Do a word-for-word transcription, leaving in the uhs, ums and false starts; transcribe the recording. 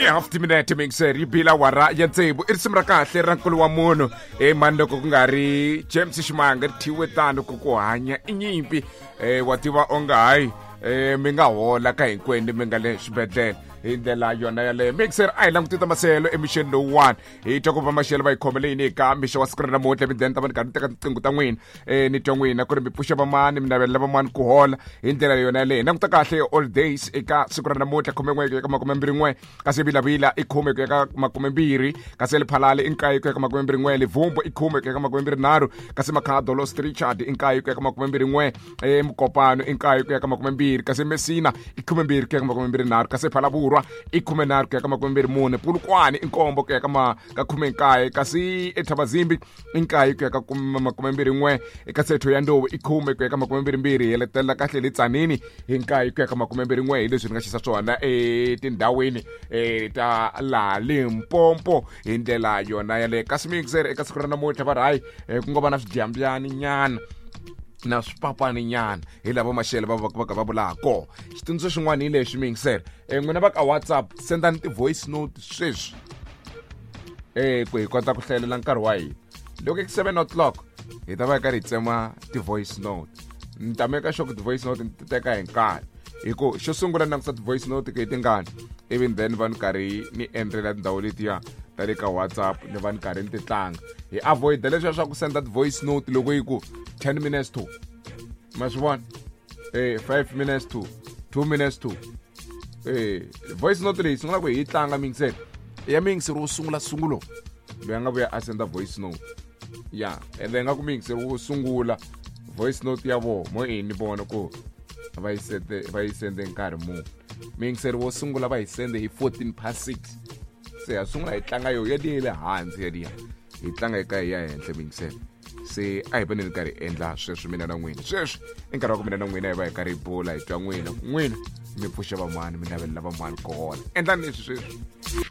Half timinete mixer yi bila wara ya tsevu i risimu ra kahle ra nkulu wa munhu e mani loko ku nga ri James Ximanga ri thyiwe tano ku ku hanya i nyimpi um wa tiva onge hayi um mi nga hola ka hinkwenu mi nga le xibedhlele hi ndlela yona yaleyo. Mixer a hi langutisa maselo emixeni lowuwani hi twa ku va maxelo va yi khomele yini eka mixo wa siku ra namuntlha. Mideni ta va ni karhi ni teka tinqingho ta n'wina um ni twa n'wina ku ri mi pfuxa vamani mi navelela vamani ku hola hi ndlela yona yaleyo. Hi languta kahle all days eka siku ra namuntlha khume n'we ku ya ka makumembirhi n'we kasi Vilavila i khume ku ya ka makumembirhi kasi Lephalale i nkaye ku ya ka makumembirhi n'we Livumbu i khume ku ya ka makumembirhi nharhu kasi Makhado Los Richard i nkaye ku ya ka makumembirhi n'we e Mukopano i nkaye ku ya ka makumembirhi kasi Messina i khumembirhi ku ya ka makumembirhi nharhu kasi Phalaborwa i khume nharhu ku ya ka makumembirhi mune Polokwane i nkombo ku ya ka ma ka khume nkaye kasi eThabazimbi i nkaye ku ya ka makumembirhi n'we kasi eThohoyandou i khume ku ya ka makumembirhi mbirhi. Hi heletela kahle le Tzaneen hi nkaye ku ya ka makumembirhi n'we hi leswi ni nga xisa swona etindhawini e ta laha Limpopo hi ndlela yona yaleyo. Kasi mixer eka siku ra namuntlha va ri hayi ku nga va na swidyambyani nyana na swipapani nyana hi lava maxele va va va va vulaka kona. Xitsundzuxo xin'wana hi lexi mixer n'wina va ka WhatsApp sendani ti-voice note sweswi eh ku hi kota ku hlayelela nkarhi wa hina. Loko i seven o'clock hi ta va hi karhi hi tsema ti-voice note. Ni ta meka sure ku ti-voice note ni ti teka hi nkarhi hi ku xo sungula ni langusa ti-voice note ku hi tingani even then va ni karhi ni endlela tindhawu letiya ta le ka WhatsApp ni va ni karhi ni ti tlanga. Hi avoid leswiya swa ku senda ti-voice note loko yi ku ten minutes to ma swi vona eh five minutes to two minutes to eh voice note leyi sungula ku hi yi tlanga mixer ya mixer wo sungula sungulo loyi a nga vuya a senda voice note ya ende nga ku mixer wo sungula voice note ya voho mo i ni vona ku va yi sende va yi sende nkarhi muni. Mixer wo sungula va yi sende hi fourteen past six se ha sungula hi tlanga yo ya liya le hansi ya liya hi tlanga eka hi ya henhla mixer. Se a hi voneni karhi endla sweswi mina na n'wina sweswi i nkarhi wa ku mina na n'wina hi va hi karhi hi bula hi twa n'wina n'wina mi pfuxa van'wani mi navelela van'wani ku hola. Endlani leswi sweswi.